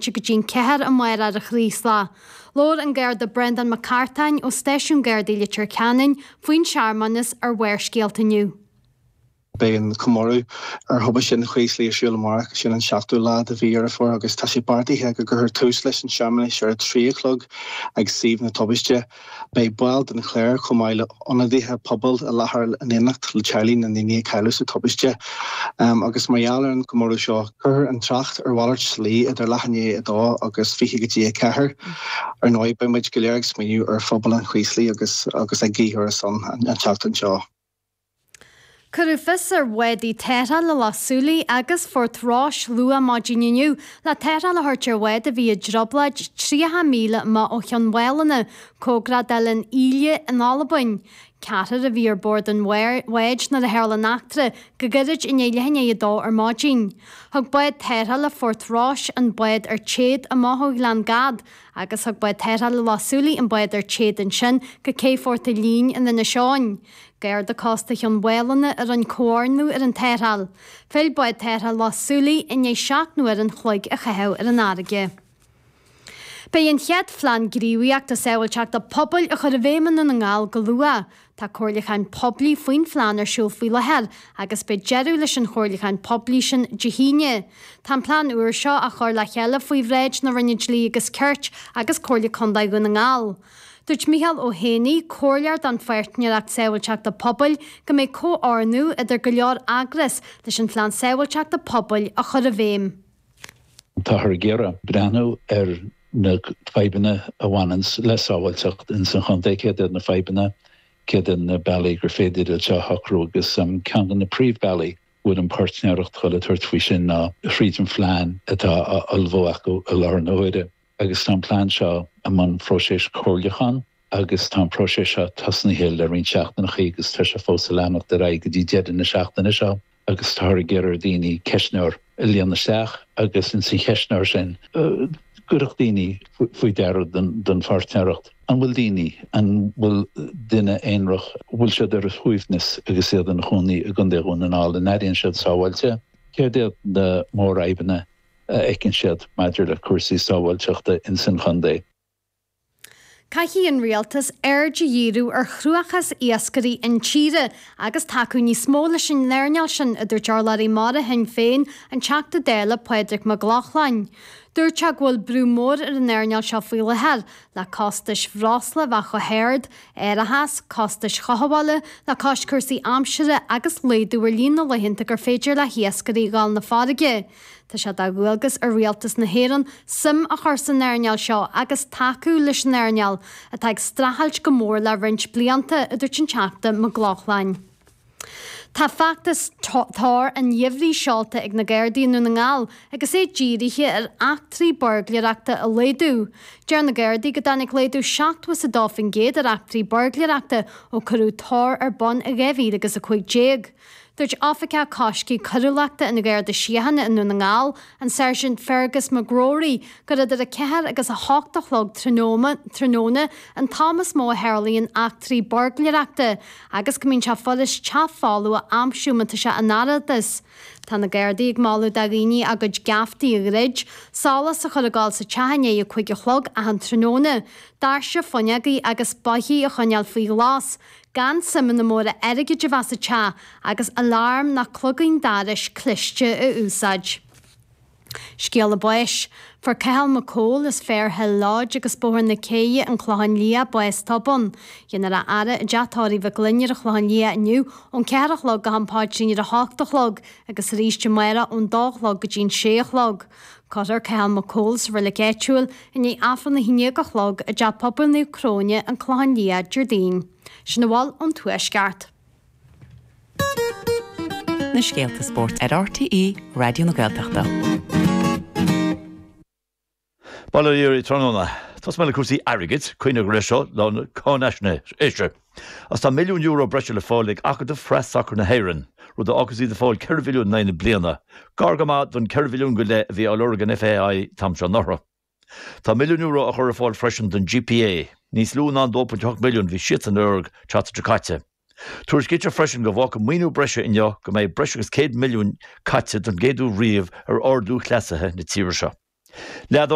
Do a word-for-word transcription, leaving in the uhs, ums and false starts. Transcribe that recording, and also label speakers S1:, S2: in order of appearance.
S1: bomaite go dtí'n ceathair amárach ar an Chraoslach. Labhair an Garda Brendan Mac Cartáin ó Stáisiún Gardaí Leitir Ceanainn faoin searmanas ar Bharrscéalta inniu.
S2: Beidh an comóradh ar thubaiste an Chraoslaigh ar siúl amárach sin an seachtú lá de mhí Dheireadh Fómhair agus tá sé beartaithe go gcuirfear tús leis an searmanas ar a trí a chlog ag suíomh na tubaiste. Beidh baill den chléir chomh maith le ionadaithe pobail i láthair in éineacht le teaghlaigh na ndaoine a cailleadh sa tubaiste. Um, agus mar gheall ar an gcomóradh seo cuirfear an trácht ar mhalairt slí idir leath i ndiaidh a dó agus fiche go dtí a ceathair. Ar ndóigh beidh muid go léir ag smaoineamh ar phobal an Chraoslaigh agus agus ag guí ar a son an, an tseachtain seo.
S1: Cuireadh fios ar bhádaí tarrthála Loch Súilí agus Phort Rois luath maidin inniu le tarrtháil a thabhairt ar bhád a bhí i dtrioblóid tríocha míle amach ó Chionn Mhálanna, cóngarach d'Oileán Ìle in Albain. Ceathrar a bhí ar bord an bháid nuair a tharla an eachtra go gairid i ndiaidh leath i ndiaidh a dó ar maidin. Thug bád tarrthála Phort Rois an bád ar téad amach ó Ghleann Gad, agus thug bád tarrthála Loch Súilí an bád ar téad ansin go cé Phort Lín in Inis Eoghain. Garda Cósta Chionn Mhálanna a rinne comhordú ar an tarrtháil. Phill bád tarrthála Loch Súilí i ndiaidh seacht n-uair an chloig a chaitheamh ar an fharraige. Beidh an chéad phlean gníomhaíochta sábháilteachta pobail á chur i bhfeidhm i nDún na nGall go luath. Tá comhairliúchán poiblí faoin phlean ar siúl faoi láthair agus beidh deireadh leis an chomhairliúchán poiblí sin Dé hAoine. Tá an plean úr seo á chur le chéile faoi bhráid na Roinne Dlí agus Cirt agus Comhairle Contae Dhún na nGall. Dúirt Micheál Ó Héanaí, comhairleoir don Pháirtnéireacht Sábháilteachta Pobail go mbeidh comhordú idir go leor eagras leis an phlean sábháilteachta pobail a chur i bhfeidhm.
S3: Táthar ag iarraidh breathnú ar na fadhbanna a bhaineann le sábháilteacht in san chontae céard iad na fadhbanna céard iad na bealaí gur féidir iad seo a shocrú agus um, ceann de na príomhbhealaí bhfuil an pháirtnéireacht chun tabhairt faoi sin ná thríd an phlean atá á ullmhú acu i láthair na huaire. agus tá an plean seo i mbun próiseas comhairliúcháin agus tá an próiseas seo tosnaithe le roinnt seachtainí agus tá sé fós ag leanacht ar aghaidh go dtí deireadh na seachtaine seo agus tá ag iarraidh daoine ceistneoir a líonadh isteach agus in san cheistneoir sin cuirfidh daoine faoi deara den, den pháirtnéireacht. An bhfuil daoine an bhfuil duine aonarach bhfuil siad ar a suaimhneas agus iad ina gcónaí i gContae Dhún na nGall an airíonn siad sábháilte, céard iad na mórfhadhbanna a fheiceann siad maidir le cúrsaí sábháilteachta in san chontae.
S1: Caithfidh an rialtas aird a dhíriú ar chruachás iascairí intíre agus tacú níos mó leis an earnáil sin a dúirt urlabhraí mara Shinn Féin an Teachta Dála Pádraig Mac Lochlainn. Dúirt sé go bhfuil brú mór ar an earnáil seo faoi láthair le costais bhreosla bheith chomh hard, árachas, costais chothabhála le cois cúrsaí aimsire agus laghdú ar líon na laethanta gur féidir le hiascairí dul 'na farraige. Tá sé de dhualgas ar rialtas na hÉireann suim a chur san earnáil seo agus tacú leis an earnáil atá ag streachailt go mór le roinnt blianta a dúirt an Teachta Mac Lochlainn. Tá feachtas Tor an Gheimhridh seolta ag na Gardaí i nDún na nGall agus é dírithe ar eachtraí buirgléireachta a laghdú. Deir na Gardaí go dtáinig laghdú seachtó is a dó faoin gcéad ar eachtraí buirgléireachta ó cuireadh Tor ar bun i dhá mhíle agus a cúig déag. Dúirt Oifigeach Coiscthe Coiriúlachta an Gharda Síochána i nDún na nGall, an Sergeant Fergus McGrory, gur idir a ceathair agus a hocht a chlog tráthnóna an t-am is mó a tharlaíonn eachtraí buirgléireachta agus go mbíonn sé furast teach folamh a aimsiú má tá sé in airgeadas. Tá na Gardaí ag moladh do dhaoine a gcuid geaftaí a dhruid, solas a chur ag gabháil sa teach i ndiaidh a cúig a chlog achan tráthnóna, doirse fuinneogaí agus boithigh a choinneáil faoi ghlas, gan suimeanna móra airgid a bheith sa teach agus alarm nó cloigín dorais cliste a úsáid. Scéala báis, Fuair Cathal McCole as Fairhill Lodge agus Bóthar na Céidhe an Clochán Liath bás tobann. Dhéanfar a fhaire i dteach tórraimh Mhic Fhloinn ar an Chlochán Liath inniu ón ceathair a chlog go ham paidrín ar a hocht a chlog agus arís amárach ón dó a chlog go dtí'n sé a chlog. Cuirfear Cathal McCole sa reilig áitiúil i ndiaidh Aifreann a haon déag a chlog i dteach pobail Naomh Cróine an Clochán Liath Déardaoin. Sin a bhfuil ón Tuaisceart.
S4: Na scéalta spóirt ar RTÉ Raidió na Gaeltachta.
S5: Bail ó Dhia oraibh tráthnóna. Tosóidh mé le cúrsaí airgid, cuimhnigh go raibh seo lá na cáinaisnéise. Agus tá milliún euro breise le fáil ag Acadamh Phreas-Sacair na hÉireann, rud a fhágfas iad ag fáil ceithre mhilliún in aghaidh na bliana, gar go maith don ceithre mhilliún go leith a bhí á lorg an FAI an t-am seo anuraidh. Tá milliún euro á chur ar fáil freisin don GPA, níos lú ná an dó pointe hocht milliún a bhí siadsan ag lorg an tseachtain seo caite. Tuairiscítear freisin go bhfágfaidh maoiniú breise inniu go mbeidh breis agus céad milliún caite don gcéad uair riamh ar ard-lúthchleasaithe na tíre seo. Leath